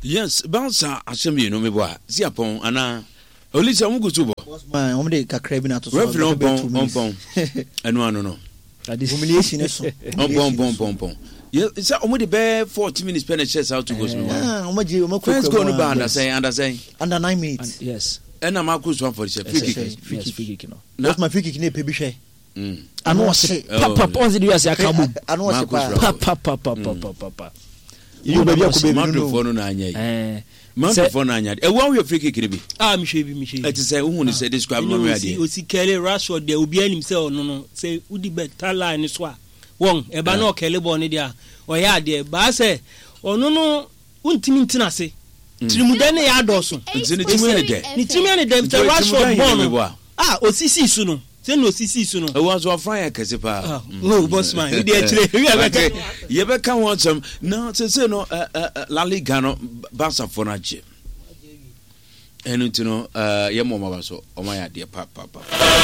Yes, Barca ahyɛ mmienu mebɔ a si apɔn anaa Olise wɔn gu so bɔ. Man, wɔn de kakra bi na ato so. Referee ɔmpɔn ɔmpɔn ɛno ano no. Humiliation so. Ɔmpɔn ɔmpɔn ɔmpɔn ɔmpɔn. Yɛ sɛ wɔn de bɛɛ 40 minutes pɛ na ɛhyɛ saa two goals no wa. Wɔn agye wɔn akɔ First goal no ba under sɛn, under sɛn? Under 9 minutes. Yes. Ɛna Marcus Rashford hyɛ free kick. Yes, free kick no. Na free kick ne epe bi hwɛ. Ano ɔse papa ɔnse de wiase aka bom. Ano ɔse paa. Papa papa papa papa. Yi baabi akɔ baabi no. Madridfoɔ no na anya yi. Madridfoɔ no anya. Ɛwɔ wohwɛ free kick no bi? Ah, mehwɛ bi, mehwɛ bi. Ɛte sɛ wohu ne sɛ describe ma me adeɛ. Osi kɛle Rashford deɛ, obiara nim sɛ ɔno no sɛ wodi bɛta line no so a, wɔn ɛba na ɔkɛle bɔɔl no deɛ a, ɔyɛ adeɛ. Baa sɛ ɔno no wontumi ntena ase. Tirimudɛ ne yɛ adɔɔso. Nti ne tirim yɛ ne dɛ. Ne tirim yɛ ne dɛ sɛ Rashford bɔɔl no a osisii so no, sɛnea osisii so no. Ɛwɔ nso afra yɛ kɛse paa. No, bossman, wodi akyire. Yɛbɛka ho asɛm na sese no La Liga no, Barcafoɔ no agye. Ɛno nti no yɛmmɔ ɔma ba so, ɔma yɛ adeɛ papaapa.